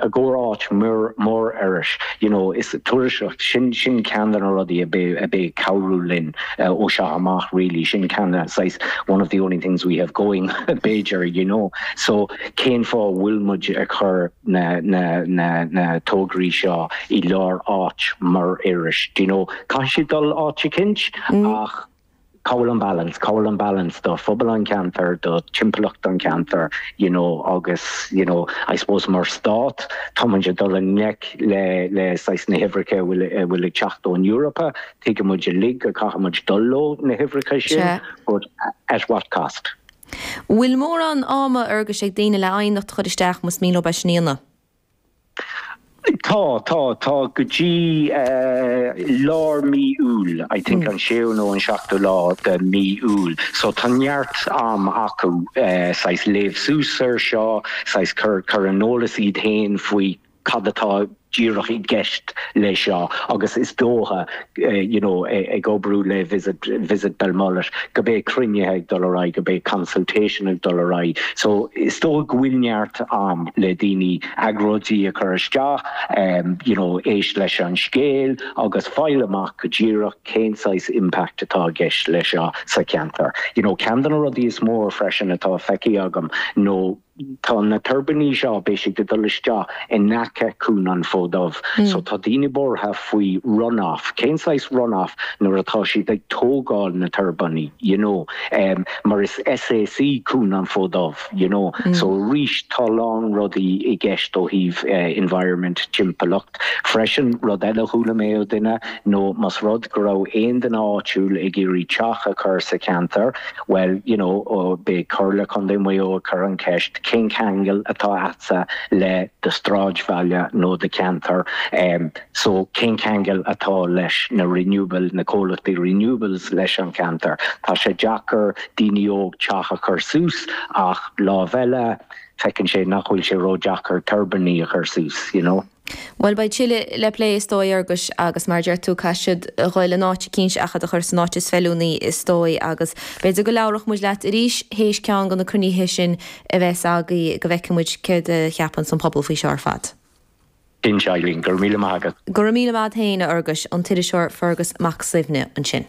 I gcomhair áit mar Iorras, you know, is turasóireacht, sin sin ceann de na rudaí a bheidh a bheidh ag cabhrú linn ó seo amach really, sin ceann de saghas one of the only things we have going b'fhéidir, you know. So cén fáth a bhfuil muid ag cur na na na na tograí seo i lár áit mar Iorras, do you know. Caithfidh siad dul áit eicínt ach cá bhfuil an balance, cá bhfuil an balance do phobal an cheantair, do timpeallacht an cheantair, you know, agus, you know, I suppose mar stát, tá muid ag dul i ngleic le, le saghas na huimhreacha a bhfuil, a bhfuil ag teacht ón Eorpa, tuigeann muid uilig go caithfidh muid dul leo, na huimhreacha sin, but at what cost? Bhfuil mórán ama, a Fhearghuis, ag daoine le aighneacht a chur isteach más mian leo é sin a dhéanamh? Tá, tá, tá go dtí lár mí Iúil, I think an séú nó an seachtú lá de mí Iúil. So tá neart am acu saghas léamh suas ar seo, saghas cur, cur in eolas iad féin faoi cad atá díreach i gceist le seo agus is dócha you know ag oibriú le Visit, Visit Belmullet go mbeidh cruinnithe ag dul ar aghaidh, go mbeidh consultation ag dul ar aghaidh. So is dócha go bhfuil neart am le daoine agóidí a chur isteach, you know éist leis an scéal agus fáil amach go díreach cén saghas impact atá i gceist le seo sa cheantar. You know ceann de na rudaí is mór freisin atá feicthe agam nó Tá na tuirbíní seo, beidh siad ag dul isteach in aice Cuan an Fóid Dubh. So tá daoine buartha faoi run-off. Cén saghas run-off nuair atá siad ag tógáil na tuirbíní, you know. Mar is SAC Cuan an Fóid Dubh, you know. So arís tá a lán rudaí i gceist ó thaobh environment, timpeallacht. Freisin, rud eile a chuala mé ó duine nó más rud go raibh aon duine áitiúil ag iarraidh teach a chur sa cheantar, Bhuel, you know, beidh Comhairle Contae Mhaigh Eo ag cur an cheist, cén ceangal atá a'dsa le do sráidbhaile nó do cheantar? So, cén ceangal atá leis na renewable, na comhlachtaí renewables leis an cheantar? Tá sé deacair daoine óg teach a chur suas ach lámh eile, feiceann sé nach bhfuil sé ró-deacair tuirbíní a chur suas, you know. Bhuel, beidh tuilleadh le plé is dóigh, a Fhearghuis, agus mar a deir tú, caithfidh siad a ghoil in áit eicínt ach iad a chur san áit is feiliúnaí is dóigh agus b'fhéidir go labhródh muid leat arís théis ceann de na cruinnithe sin a bheas agaibh go bhfeicfidh muid céard a cheapanns an pobal faoi seo ar fad. Cinnte, Eileen, go raibh míle maith agat. Go raibh míle maith a't féin, a Fhearghuis, an t-iriseoir Fergus Mac Suibhne ansin.